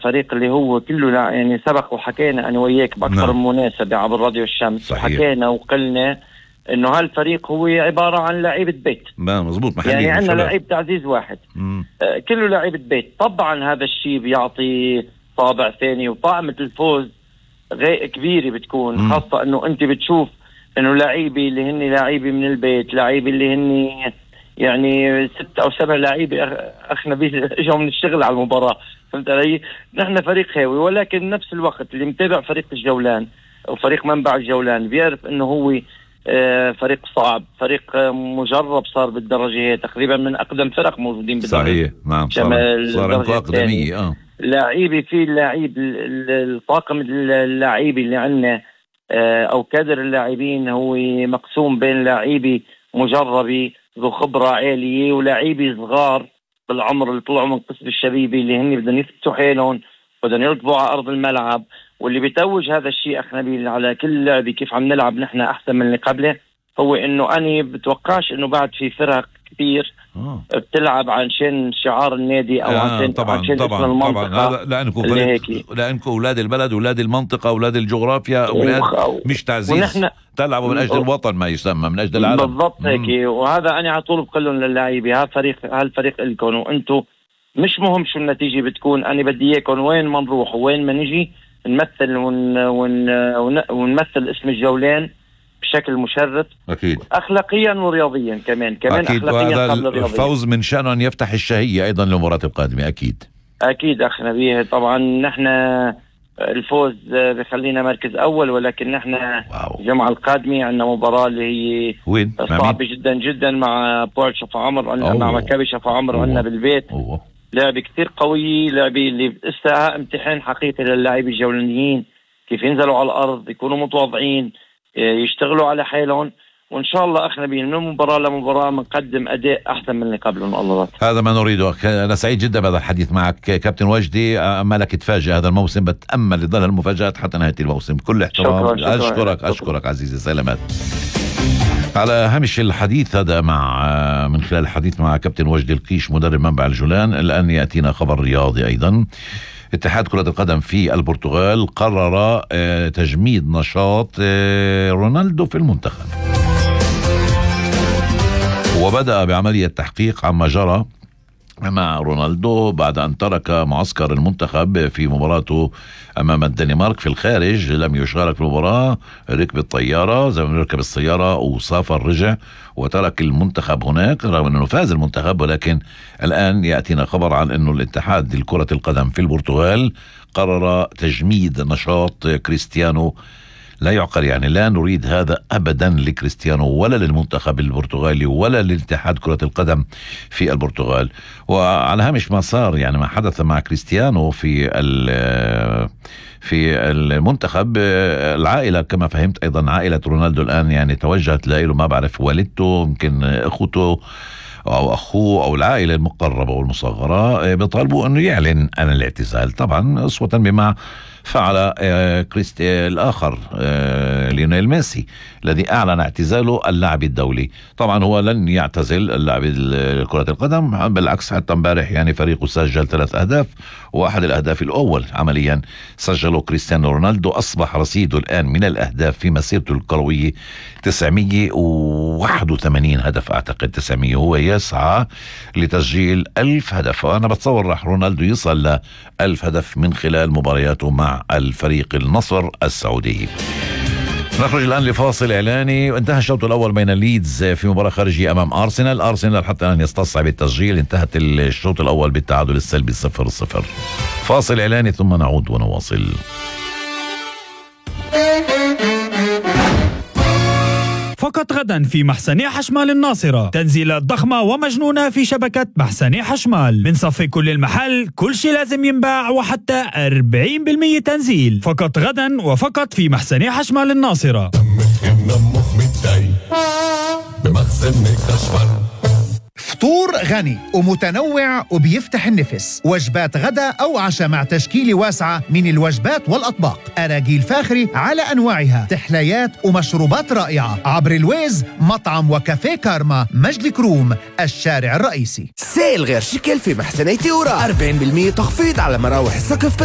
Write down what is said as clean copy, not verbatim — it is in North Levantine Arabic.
فريق اللي هو كله يعني سبق وحكينا أنا وياك بأكثر من مناسبة عبر راديو الشمس. صحيح. وحكينا وقلنا إنه هالفريق هو عبارة عن لعيبة بيت. مزبوط. يعني عندنا لعيب تعزيز واحد. كله لعيبة بيت. طبعا هذا الشيء بيعطي طابع ثاني وطعمة الفوز كبيرة بتكون. خاصة إنه أنت بتشوف إنه لعيبة اللي هني لعيبة من البيت، لعيبة اللي هني يعني 6 أو 7 لعيبة أخنا بيجوا من الشغل على المباراة. فهمت علي؟ نحن فريق هاوي، ولكن نفس الوقت اللي متابع فريق الجولان أو فريق منبع الجولان بيعرف إنه هو فريق صعب، فريق مجرب، صار بالدرجة تقريبا من أقدم فرق موجودين بالدرجة. صحيح. نعم. صار أقدمية. لاعبي في اللاعب الطاقم اللاعبي اللي عندنا أو كادر اللاعبين هو مقسوم بين لاعبي مجربي ذو خبرة عالية ولاعبي صغار بالعمر اللي طلعوا من قسم الشبيبي اللي هني بدهم يثبتوا حيلهم، بدهم يركبوا على أرض الملعب. واللي بيتوج هذا الشيء أخ نبيل على كل لعبة كيف عم نلعب نحن أحسن من اللي قبله، هو إنه أنا بتوقعش إنه بعد في فرق كثير بتلعب عشان شعار النادي أو عشان اسم المنطقة. لأنكم أولاد البلد، أولاد المنطقة، أولاد الجغرافيا، أولاد مش تعزيز، تلعبوا من أجل الوطن ما يسمى من أجل العالم. بالضبط هيك. وهذا أنا على طول بقولهم للاعبين هالفريق لكم، وأنتم مش مهم شو النتيجة بتكون، أنا بدي إياكم وين ما نروح وين ما نجي نمثل ونمثل اسم الجولان بشكل مشرف. أكيد. أخلاقيا ورياضيا كمان أكيد. أخلاقيا قبل الرياضيا. الفوز من شأنه أن يفتح الشهية أيضا للمباراة القادمة. أكيد أخ نبيه. طبعا نحن الفوز بخلينا مركز أول، ولكن نحن الجمعة القادمة عندنا مباراة اللي هي وين؟ صعبة جدا جدا مع بورت شفا عمر، مع مكابي شفا عمر عندنا بالبيت. لعبة كثير قوية، لعبة اللي استها امتحان حقيقي للاعبين الجولانيين كيف ينزلوا على الأرض، يكونوا متواضعين، يشتغلوا على حالهم، وإن شاء الله أخنا بين من مباراة لمباراة منقدم أداء أحسن من اللي قبلهم. الله هذا ما نريده. أنا سعيد جدا بهذا الحديث معك كابتن وجدي. أمالك تفاجئ هذا الموسم، بتأمل لظل المفاجآت حتى نهاية الموسم. كل احترام. أشكرك عزيزي. سلامات. على هامش الحديث هذا من خلال الحديث مع كابتن وجدي القيش مدرب منبع الجولان، الآن يأتينا خبر رياضي أيضا. اتحاد كرة القدم في البرتغال قرر تجميد نشاط رونالدو في المنتخب، وبدأ بعملية تحقيق عما جرى مع رونالدو بعد أن ترك معسكر المنتخب في مباراته أمام الدنمارك في الخارج. لم يشارك في المباراة، ركب الطيارة زي ما نركب السيارة وسافر، رجع وترك المنتخب هناك رغم أنه فاز المنتخب. ولكن الآن يأتينا خبر عن أنه الاتحاد لكرة القدم في البرتغال قرر تجميد نشاط كريستيانو. لا يعقل، يعني لا نريد هذا أبدا لكريستيانو ولا للمنتخب البرتغالي ولا للاتحاد كرة القدم في البرتغال. وعلى هامش ما صار يعني ما حدث مع كريستيانو في المنتخب، العائلة كما فهمت أيضا عائلة رونالدو الآن يعني توجهت له، ما بعرف والدته يمكن أخوته أو أخوه أو العائلة المقربة والمصغرة بيطالبوا أنه يعلن عن الاعتزال، طبعا أسوة بما فعل الآخر ليونيل ميسي الذي أعلن اعتزاله اللاعب الدولي. طبعا هو لن يعتزل اللاعب كرة القدم، بالعكس حتى امبارح يعني فريقه سجل 3 أهداف، واحد الأهداف الأول عمليا سجله كريستيانو رونالدو. أصبح رصيده الآن من الأهداف في مسيرته الكروية 981 هدف، أعتقد 900. هو يسعى لتسجيل 1000 هدف، وأنا بتصور راح رونالدو يصل ل 1000 هدف من خلال مبارياته مع الفريق النصر السعودي. نخرج الآن لفاصل إعلاني. وانتهى الشوط الأول بين ليدز في مباراة خارجية أمام أرسنال حتى أن يستصعب التسجيل. انتهت الشوط الأول بالتعادل السلبي 0-0. فاصل إعلاني ثم نعود ونواصل. فقط غدا في محسني حشمال الناصرة تنزيلات ضخمة ومجنونة في شبكة محسني حشمال. من صفي كل المحل، كل شيء لازم ينباع وحتى 40% تنزيل. فقط غدا وفقط في محسني حشمال الناصرة. فطور غني ومتنوع وبيفتح النفس، وجبات غدا أو عشاء مع تشكيلة واسعة من الوجبات والأطباق، أراجيل فاخرة على أنواعها، تحليات ومشروبات رائعة عبر الويز مطعم وكافيه كارما، مجد كروم، الشارع الرئيسي. سيل غير شكل في محسني تيورا، 40% تخفيض على مراوح السقف بس